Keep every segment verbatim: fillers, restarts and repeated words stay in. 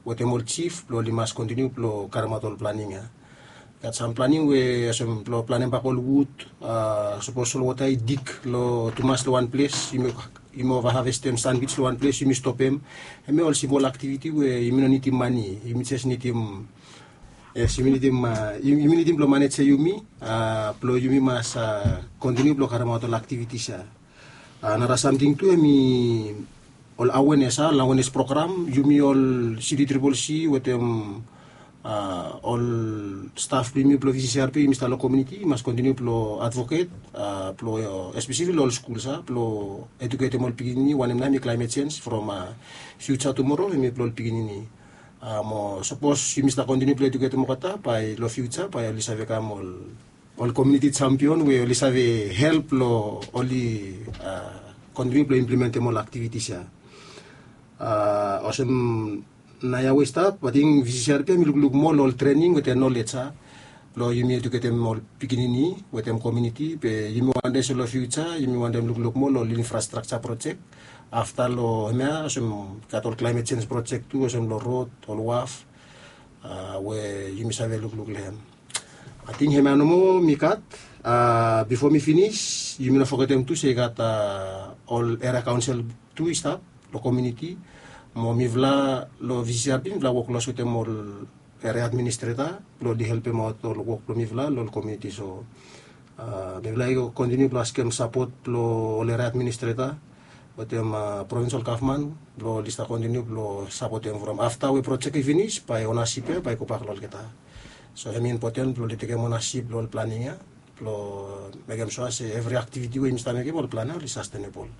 wetem ol jif blong oli mas kontiniu blong karemaot ol planing ya. Gat sam planing we olsem blong planem bak ol wud, sapos ol wota i dik long tumas long wan ples, yumi ovahavestem sanwij long wan ples, yumi stopem. Hemia ol simol aktiviti we yumi no nidim mane, yumi jes nidim, yes, yumi nidim, yumi nidim blong manejem yumi blong yumi mas kontiniu blong karemaot ol aktivitis ya. Nara samting tu hemi ol awenes, a ol awenes program yumi ol siti tripol si wetem ol staf blong yumi blong vccrp yumi stap long kominiti mas kontiniu blong advoket blong espeseli long ol skul sa blong eduketem ol pikinini wanem nao hemi klaemet sens from fiuja tumoro hemi blong ol pikinini. Mo sapos yumi stap kontiniu blong eduketem olgeta bae long fiuja bae oli save kam ol ol kominiti jampion we oli save help long oli kontiniu blong implementem ol aktivitis ya. Olsem naoia we i stap ating vccrp hemi lukluk moa long ol trening wetem nolej ya blong yumi eduketem ol pikinini wetem kominiti be yumi wantem se long fiuja yumi wantem lukluk moa long ol infrastrakja projek afta long hemia olsem gat ol klaemet sens projek tu olsem long rod ol waf we yumi save lukluk long hem. Ating hemia nomo mi gat. Bifo mi finis yumi no fogetem tu se i gat ol eria kaonsel tu i stap long kominiti mo mifala long vccrp mifala wok klos wetem ol eria administreta blong oli helpemaot ol wok blong mifala long ol kominiti so mifala i kontiniu blong askem sapot blong ol eria administreta wetem provinsal gavman blong oli stap kontiniu blong sapotem from afta we projek i finis bae onasip ya bae i gobak long olgeta. So hemi impoten blong oli tekem onasip long ol planing ya blong mekem sua se evri aktiviti we yumi stap mekem ol plan ya oli sastenebol.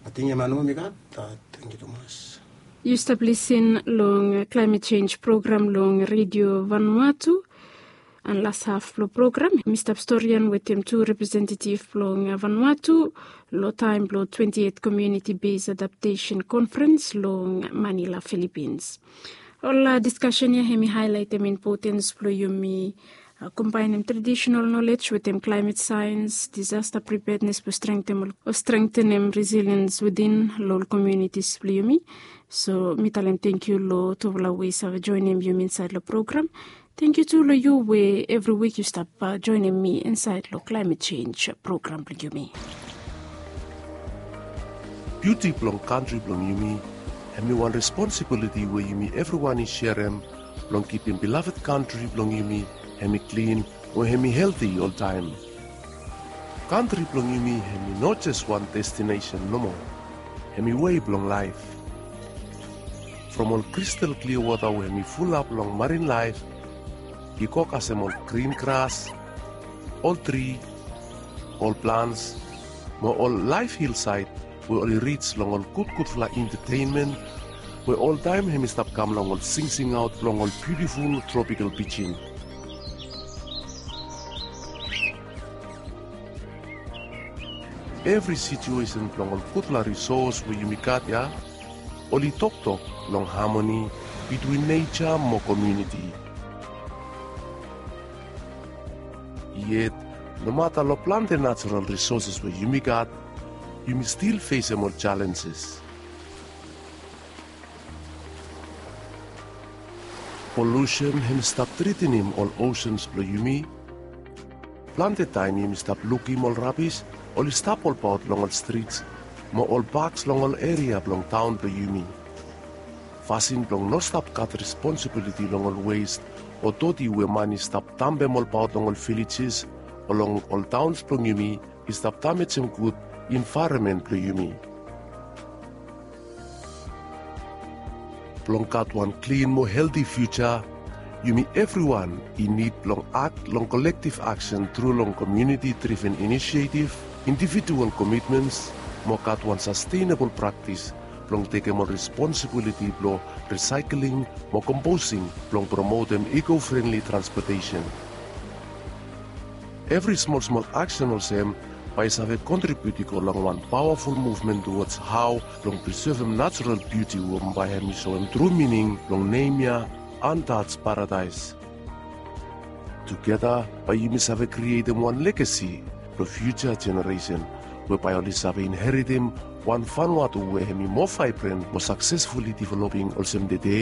Ating hemia nomo mi gat. Tangkiu tumas. Yu stap lisin long klaemet jenj program long redio vanuatu. An las haf blong program mi stap storian wetem tu representetiv blong vanuatu long taem blong twenti et komiuniti bes adaptesen konferens long manila filipins. Ol diskasen ya hem i haelaetem impotens blong yumi kombaenem tradisenal nolej wetem klaemet saens disasta pripednes blong strengtenem resiliens within long ol komiunitis blong yumi. So mi talem tangkiu long tufala we i save joenem yumi insaed long program. Tangkiu tu long yu we evri wik yu stap joenem mi insaed long klaemet jenj program blong yumi. Biuti blong kantri blong yumi hem i wan responsibiliti we yumi evriwan i serem blong kipim bilaved kantri blong yumi hem i klin we hem i helti oltaem. Kantri blong yumi hem i no jes wan destinesen nomo. Hem i wei blong laef. From ol kristal klia wota we hem i fulap long marin laef i go kasem ol grin gras, ol tri, ol plans mo ol laef hilsaed we oli rij long ol gudgudfala entetenmen we oltaem hem i stap kam long ol singsingaot blong ol biutiful tropikal pijin. Evri situesen blong ol gudfala risos we yumi gat ya oli toktok long hamoni bitwin neja mo komiuniti. Yet nomata long plante najeral risoses we yumi gat, yumi stil fesem ol jalenjes. Polusen hem i stap tritinim ol osens blong yumi. Plante taem yumi stap lukim ol rabis oli stap olbaot long ol strits mo ol baks long ol eria blong taon blong yumi. Fasin blong no stap gat responsibiliti long ol wes o doti we man i stap dampem olbaot long ol vilejes o long ol taons blong yumi i stap damejem gud envaeronmen blong yumi. Blong gat wan klin mo helti fiuja, yumi evriwan i nid blong akt long kolektiv aksen tru long komiuniti driven inisiativ, individual komitmens mo gat wan sastenebol praktis blong tekem ol responsibiliti blong risaekling mo komposing blong promotem iko frenli transpotesen. Evri smolsmol aksen olsem bae i save kontribiut i go long wan pawaful muvmen tuwods hao blong prisevem najeral biuti we bae hem i soem tru mining blong nem ya Untouched Paradise. Tugeta bae yumi save krietem wan legasi blong fiuja jeneresen we bae oli save inheritem wan Vanuatu we hem i moa vaebren mo saksesfuli developing olsem tede